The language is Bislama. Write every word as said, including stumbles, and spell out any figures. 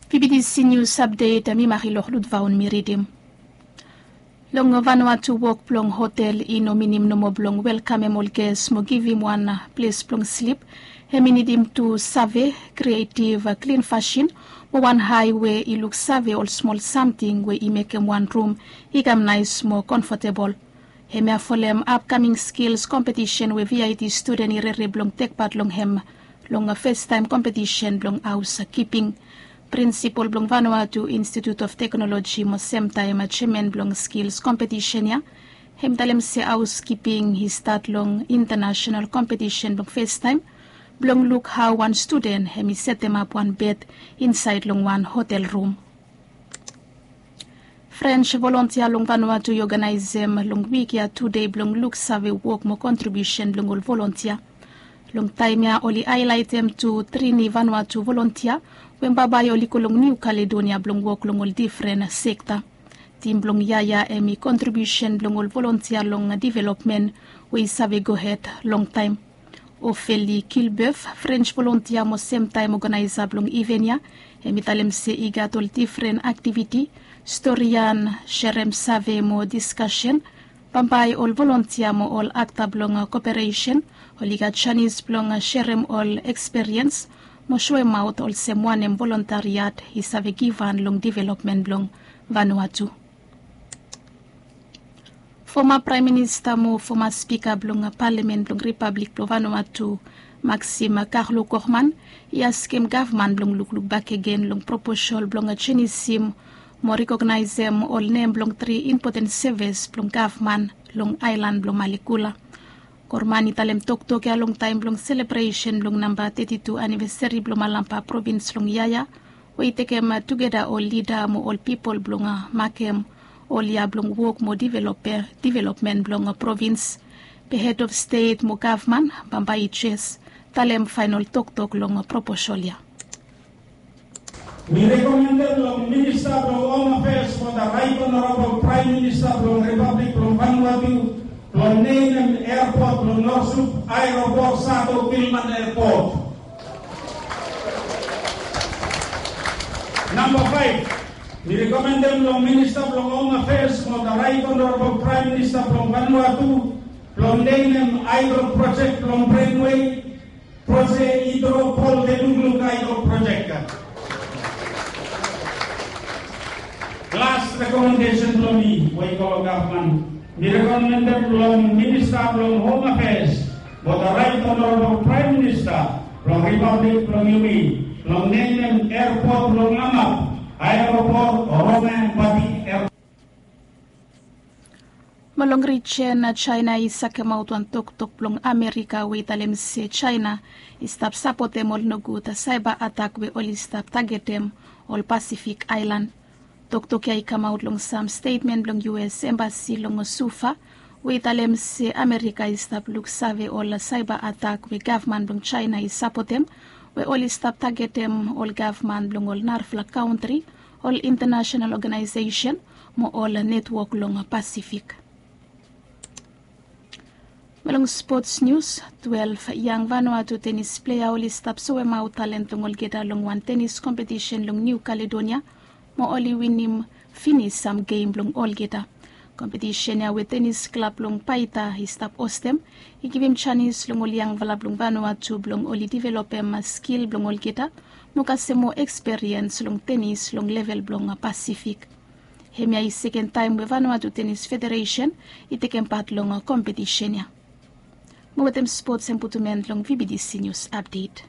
Pipiti sinius apdet mi mari loh lutvaon mi ridim. Long Vanuatu wok blong hotel i no minim nomo blong welkamem ol ges mo givim wan ples blong slip. Hem i nidim tu save, krietiv, klin fasin, mo wan hae we i luksave ol smol samting we i mekem wan rum i kam naes mo komfotebol. Hemia folem apkaming skils kompetisen we vit studen i rere blong tekpat long hem long festaem kompetisen blong haos kiping. Prinsipol blong Vanuatu Institiut of Teknoloji mo semtaem jeaman blong skils kompetisen ya hem i talem se haos kiping i stat long intanasenal kompetisen blong festaem blong luk hao wan studen hem i setemap wan bed insaed long wan hotel rum. Frens volontia long Vanuatu i oganaesem long wik ya tu dei blong luksave wok mo kontribiusen blong ol volontia. Long taem ya oli haelaetem tu trini Vanuatu volontia we bambae oli go long Niu Kaledonia blong wok long ol difren sekta. Tim blong yia ya hem i kontribiusen blong ol volontia long developmen we i save gohed longtaem. Ofeli Kilbef, Frens volontia mo semtaem oganaesa blong iven ya, hem i talem se i gat ol difren aktiviti, storian, serem save mo diskasen. Bambae ol volontia mo ol akta blong koperesen oli gat janis blong serem ol eksperiens mo soemaot olsem wanem volontariat i save givhan long developmen blong Vanuatu. Foma Praem Minista mo foma Spika blong Palamen blong Ripablik blong Vanuatu, Maxim Karlo Korman, i askem gavman blong lukluk bakegen long proposal blong jenisim mo rekognaesem ol nem blong tri impoten sevis blong gavman long aelan blong Malekula. Korman i talem toktok ya longtaem blong selebresen blong namba teti tu anivesari blong Malampa provins long yia ya, we i tekem tugeta ol lida mo ol pipol blong makem ol yia blong wok mo developmen blong provins. Be hed of stet mo gavman bambae i jes talem faenol toktok long proposal ya. Mi rekomendem long Minista blong Hom Afeas mo the Right Honorable Praem Minista blong Ripablik blong Vanuatu blong nenem eapot blong Norsup Aeropot Sato Gilman Eapot. Namba faef, mi rekomendem long Minista blong Hom Afeas mo the Right Honorable Praem Minista blong Vanuatu blong nenem aedok projek blong Brenwei, projek i dro pol de lukluk aedok projek. Las rekomendesen blong mi we i go long gavman, mi rekomendem long Minista blong Hom Afeas mo the Right Honorable Praem Minista blong Ripablik blong yumi blong nenem eapot blong Lamap Aeropot Rome Batik Eapot. Mo long rijen, Jaena i sakemaot wan toktok blong Amerika we i talem se Jaena i stap sapotem ol nogud saeba atak we oli stap tagetem ol Pasifik aelan. Toktok ya i kamaot long sam stetmen blong U S Embasi long Suva we i talem se Amerika i stap luksave ol saeba atak we gavman blong Jaena i sapotem we oli stap tagetem ol gavman blong ol narafala kantri, ol intanasenal oganaesesen mo ol netwok long Pasifik. Mo long spots nius, twelef yang Vanuatu tenis plea oli stap soemaot talent blong olgeta long wan tenis kompetisen long Niu Kaledonia mo oli winim finis sam gem blong olgeta. Kompetisen ya we tenis klab blong Paita i stap hostem i givim janis long ol yangfala blong Vanuatu blong oli developem skil blong olgeta mo kasem moa eksperiens long tenis long level blong Pasifik. Hemia i seken taem we Vanuatu Tenis Federesen i tekem pat long kompetisen ya. Mo wetem spots hem putum en long V B T C News Update.